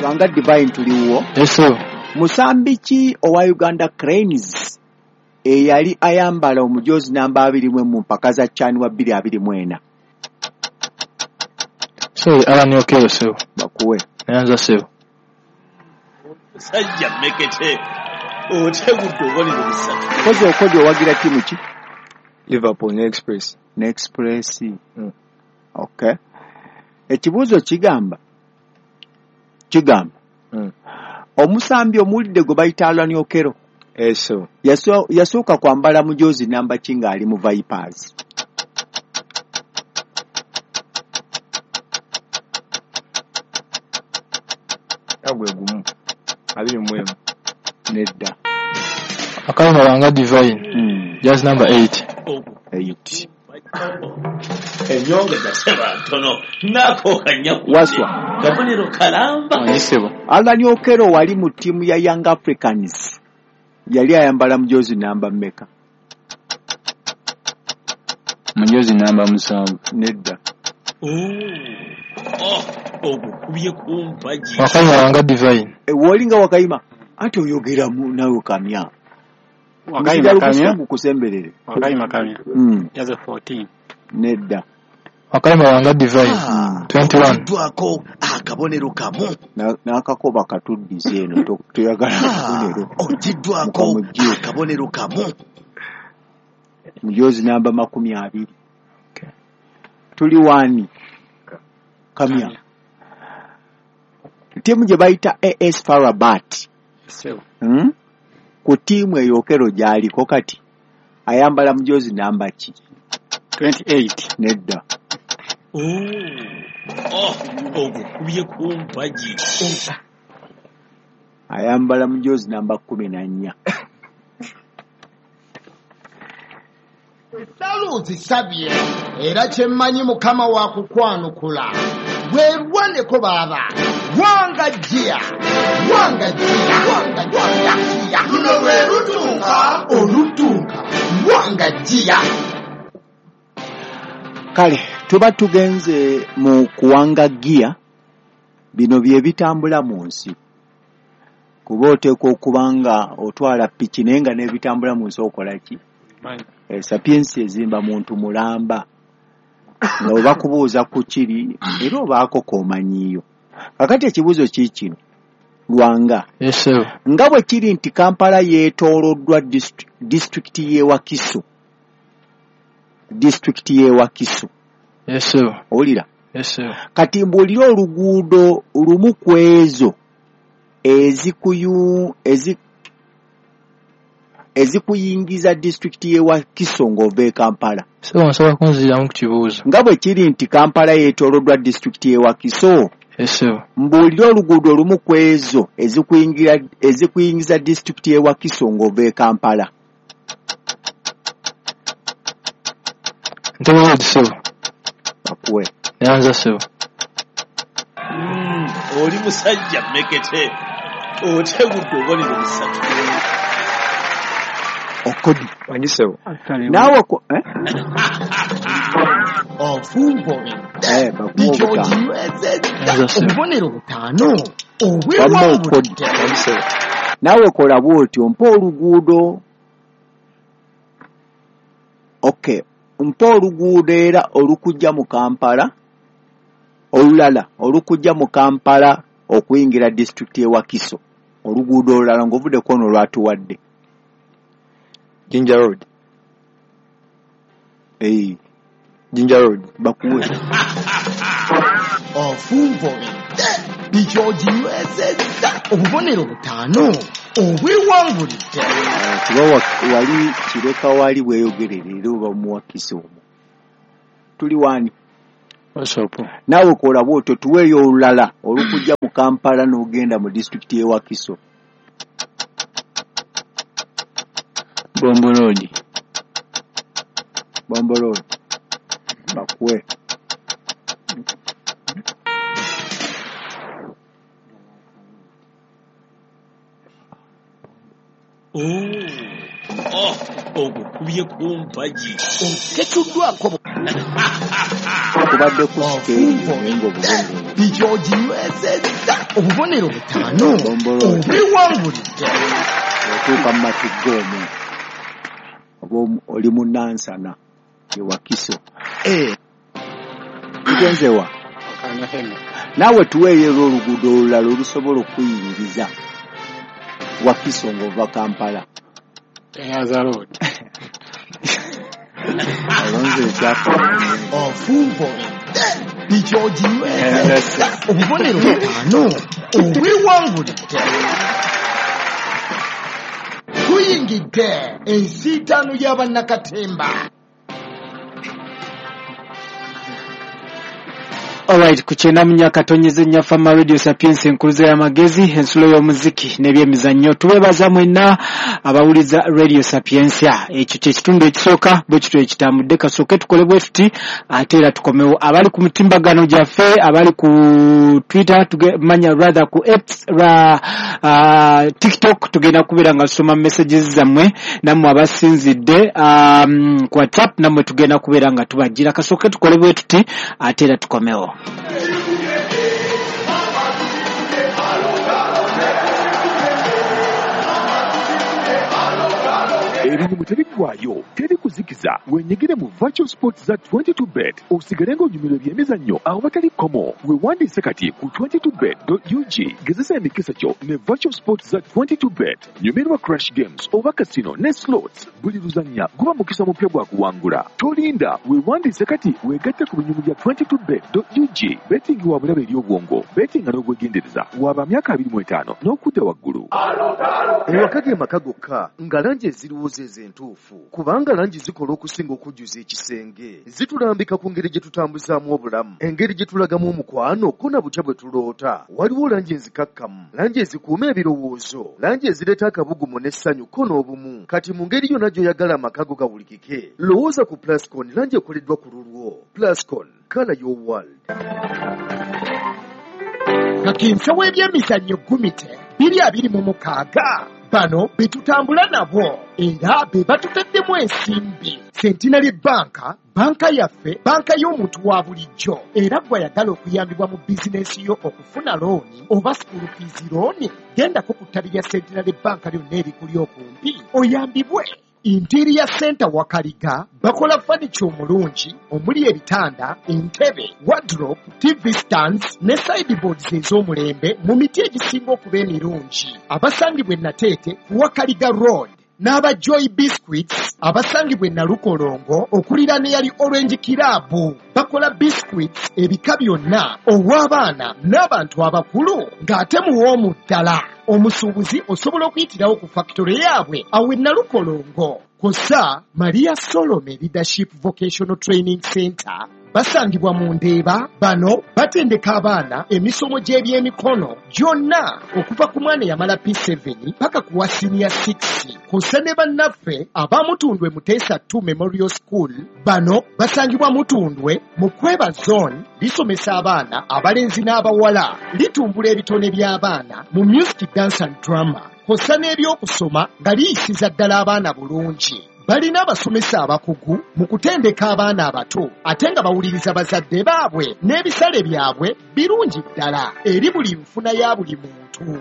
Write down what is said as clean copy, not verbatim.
Lwanga Divine, tuliwo? Yes, sir. Musambi ki owa Uganda Cranes eyali ayambala omujoozi namba 21 mu mpaka za CHAN wa 2024? Sorry, Alan Okello, sir. Bakuwe. Neyanza, sir. Musajja mmekete, otegudde obubonero busatu. Kozi okodi owagira ttiimu ki? Liverpool ne Express. Ne Express. Okay. Ekibuuzo kigamba. Omusambi omuwulidde gwe bayita Alan Okello. Yes, sir. Yasooka kwambala mujoozi namba ki ng'ali mu Vipers? Gwe gumu. 21. Nedda. Wakayima Lwanga Divine. Jersey number 8. 8. Ennyonga gaseba ntono n'akooka Waswa. Kabonero kalamba. Alan Okello wali mu ttiimu ya Young Africans. Yali ayambala mujoozi namba mmeka? Mujoozi namba 7. Nedda. Ogukubye ku mpagi. Wakayima Lwanga Divine. W'olinga Wakayima anti oyogera nawe Kamya. Wakayima Kamya. Gukusemberere. Wakayima Kamya. Jersey 14. Nedda. Wakayima Lwanga Divine. 21. Oggyiddwako akabonero kamu. N'akakoba katuddize eno toyagala akabonero. Oggyiddwako akabonero kamu. Mujoozi namba 20. Tuli wani? Kamya. Ttiimu gye bayita AS FAR Rabat. Ku ttiimu eyo Okello gy'aliko kati ayambala mujoozi namba ki? 28. Nedda. Ogukubye ku mpagi. Ayambala mujoozi namba 14. Essala ozisabye era kye mmanyi Mukama wa kukwanukula. Weerwaneko baaba. Wanga jia. Wanga jia. Wanga jia. Luno lwe lutunka olutunka. Wanga jia. Kale tuba tugenze mu kuwanga giya, bino bye bitambula mu nsi. Kuba oteekwa okuba nga otwala piki naye nga n'ebitambula mu nsi okola ki? Sapiensi ezimba muntu mulamba. Nga bwe bakubuuza ku kiri era obaako k'omanyiiyo. Kakati ekibuuzo ki kino? Lwanga. Yes, sir. Nga bwe kiri nti Kampala yeetooloddwa disitulikiti y'e Wakiso. Disitulikiti y'e Wakiso. Yes, sir. Owulira? Yes, sir. Kati mbuulire oluguudo lumu ku ezo ezikuyingiza disitulikiti y'e Wakiso ng'ova e Kampala. Sir, nsobola kunziramu ku kibuuzo. Nga bwe kiri nti Kampala yeetooloddwa disitulikiti y'e Wakiso. Yes, sir. Mbuulire oluguudo lumu ku ezo ezikuyingiza disitulikiti y'e Wakiso ng'ova e Kampala. Entebbe Road, sir. Bakuwe. Neyanza, sir. Oli musajja mmekete, otegudde obubonero busatu. Okodi. Wangi ssebo. Naawe Ofunvubidde. Bakuwa obutaano. Oginywezezza obubonero butaano. Wamma Okodi. Wangi ssebo. Naawe kola bw'otyo, mpa oluguudo. Okay. Mpa oluguudo era olukujja mu Kampala, olulala olukujja mu Kampala okuyingira disitulikiti y'e Wakiso. Oluguudo olulala ng'ovudde ku ono lwatuwadde. Jinja Road. Jinja Road. Bakuwe. Ofunvubidde. Oginywezezza obubonero butaano. Obwewangulidde. Kuba wali Kireka wali weeyogerere era oba mu Wakiso omwo. Tuli wani? Naawe kola bw'otyo tuweeyo olulala olukujja mu Kampala n'ogenda mu disitulikiti y'e Wakiso. Bombo Road. Bombo Road. Bakuwe. Ogukubye ku mpagi. Tetuddwako Kubadde ku sikeeri naye ng'obubonero Piki oginywezezza obubonero 5 obwewangulidde. Otuuka mu Matugga omwo oba oli mu Nansana ye Wakiso. Tugenze wa? Naawe tuweeyo era oluguudo olulala olusobola okuyingiza Wakiso ng'ova Kampala. Nyanza Road. Alonze ekyapa. Ofumbulidde piki oginywezezza obubonero 5 obwewangulidde. Tuyingidde ensiitaano y'abannakatemba. Alright, ku 94.4 Fama Radio Sapiens, enkuluze y'amagezi, ensulo y'omuziki n'ebyemizannyo. Tubeebaza mwenna abawuliza Radio Sapiensia. Ekyo kye kitundu ekisooka bwe kityo ekitambudde. Kasooke tukole bwe tuti ate era tukomewo. Abali ku mitimbagano gyaffe, abali ku Twitter, manya rather ku X, TikTok, tugenda kubeera nga tusoma messages zammwe, nammwe abasinzidde ku WhatsApp, nammwe tugenda kubeera nga tubagira. Kasooke tukole bwe tuti ate era tukomewo. Ebinyumu tebiggwaayo, teri kuzikiza. Wenyigire mu Virtual Sports za 22bet osigale ng'onyumirwa ebyemizannyo awatali kkomo. Weewandiise kati ku 22bet.ug. Gezesa emikisa gyo ne Virtual Sports za 22bet. Nyumirwa Crash Games oba casino ne slots. Buli luzannya guba mukisa mupya gwa kuwangula. Tolinda, weewandiise kati weegatte ku binyumu bya 22bet.ug. Betting wa bulabe eri obwongo, bettinga n'obwegendereza. Waba myaka 25 n'okudda waggulu. Ewaka ge maka gokka nga langi eziriwo ze entuufu, kubanga langi zikola okusinga okujjuza ekisenge. Zitulambika ku ngeri gye tutambuzaamu obulamu, engeri gye tulagamu omukwano, ko na butya bwe tuloota. Waliwo langi ezikakkamu, langi ezikuuma ebirowoozo, langi ezireeta akabugumu n'essanyu ko n'obumu. Kati mu ngeri yonna gy'oyagala amaka go gawulikike, lowooza ku Plascon, langi ekoleddwa ku lulwo. Plascon, color your world. Kakensa w'ebyemizannyo Gumite 2026 bano be tutambula nabo era be batutaddemu ensimbi. Centenary Bank, banka yaffe, banka y'omuntu wa bulijjo, era gw'ayagala okuyambibwa mu bizinensi yo okufuna looni oba school fees looni, gendako ku ttabi lya Centenary Bank lyonna erikuli okumpi oyambibwe. Interior Center Wakaliga bakola furniture omulungi omuli ebitanda, entebe, wardrobe, TV stands ne sideboards ez'omulembe mu miti egisinga okuba emirungi. Abasangibwa e Nateete ku Wakaliga Road n'aba Joy Biscuits abasangibwa e Nalukolongo okuliraana eyali Orange Club bakola biscuits ebika byonna ow'abaana n'abantu abakulu ng'ate muwoomu ddala. Omusuubuzi osobola okuyitirawo ku factory yaabwe awo e Nalukolongo. Kw'ossa Maria Solome Leadership Vocational Training Center basangibwa mu Ndeeba. Bano batendeka abaana emisomo gy'ebyemikono gyonna okuva ku mwana eyamala P7 paka ku wa senior 6. Kw'ossa ne bannaffe aba Mutundwe Muteesa 2 Memorial School, bano basangibwa Mutundwe mu Kweba Zone, lisomesa abaana abalenzi n'abawala, litumbula ebitone by'abaana mu music, dance and drama, kw'ossa n'ebyokusoma nga liyisiza ddala abaana bulungi. Balina abasomesa abakugu mu kutendeka abaana abato ate nga bawuliriza bazadde baabwe n'ebisale byabwe birungi ddala eri buli nfuna ya buli muntu.